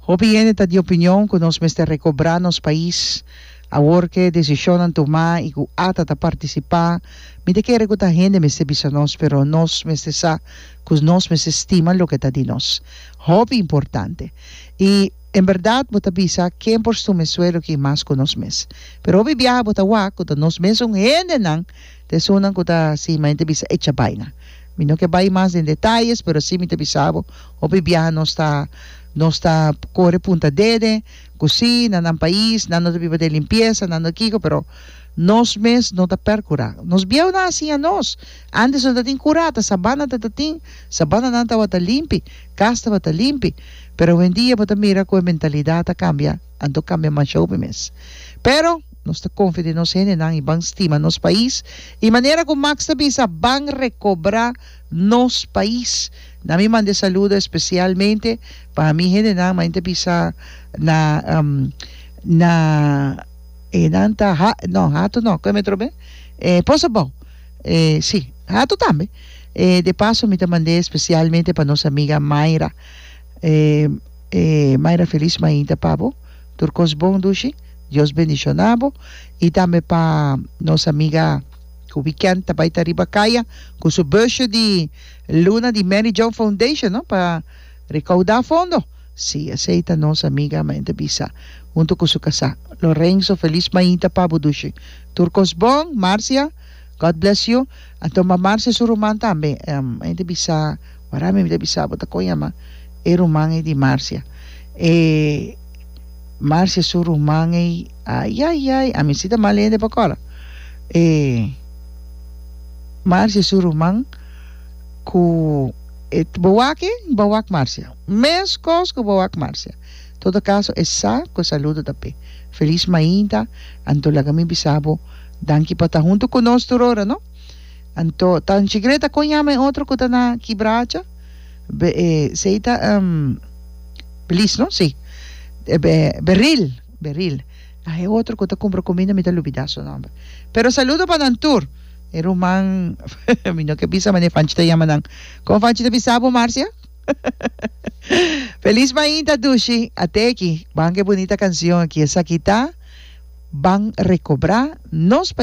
Hopi hende ta di opinion ku nos mester rekobrá nos pais. Awor ku e desishonnan tumá i ku ata ta partisipá, mi ta kere ku ta hende mester bisa nos, pero nos mester sa ku nos mester stima loke ta di nos. Hopi importante. I en bèrdat bo ta bisa ken por stuma e suelo aki mas ku nos mes. Pero hopi biaha bo ta wak ku ta nos mesun hendenan ta esunnan ku ta hasi manera ta bisa echa baina. Mi no ke bai mas den detayes, pero si mi ta bisa bo, hopi biaha nos ta nos ta kore punta dede ku si na nan pais nan no ta biba den limpiesa, nan no kiko, pero nos mes no ta perkurá. Nos bieunan a siña nos. Antes no ta tin kurá, ta sabana ta ta tin, sabananan tabata limpi, kas tabata limpi, pero awendia bo ta mira ku e mentalidat a kambia, anto kambia masha hopi mes. Pero. Nos ta konfia den nos hendenan i ban stima nos pais. I manera ku Max ta bisa, ban rekobrá nos pais. Na mi manda e saludo espesialmente pa mi hendenan, ma ta bisa na na e nan ta ha no Hato no, kon e metro be? E Pos Abou. E si, Hato tambe. E de paso mi ta mand'é espesialmente pa nos amiga Mayra. E e Mayra felis mainta pa bo. Tur kos bon dushi. Dios bendiciona bo y tambe pa nos amiga cu weekend ta bay ta riba caya cu su busje di luna di Mary Joan Foundation no pa recauda fondo. Si esey ta nos amiga men ta bisa hunto cu su casa Lorenzo feliz mainta pa bo dushi. Tur cos bon Marcia God bless you. Anto ma Marcia su ruman tambe men ta bisa wara mi ta bisa bo ta con yama e ruman ey di Marcia e. Marcia su ruman ei ayayay ami si ta mal hende pa kora e Marcia su ruman ku e bo wak e bo wak Marcia meskos ku bo wak Marcia todo kaso e sa ku e saludo ta p'e felis mainta anto laga mi bisa bo danki pa ta hunto ku nos tur ora no anto tanchi Greta kon yama e otro ku ta na Kibracha be e sei ta. Belis no? Sí. Beril, Beril. Ah, e otro ku ta kumpra kuminda mi ta lubidá su nòmber. Pero saludo pa nan tur. E ruman, mi no ke bisa manera Fanchi ta yama nan. Kon Fanchi ta bisa bo, Marcia? Felis mainta, Dushi. At'e aki, ban ku e bunita kansion aki. Esaki ta Ban Rekobrá Nos Pais.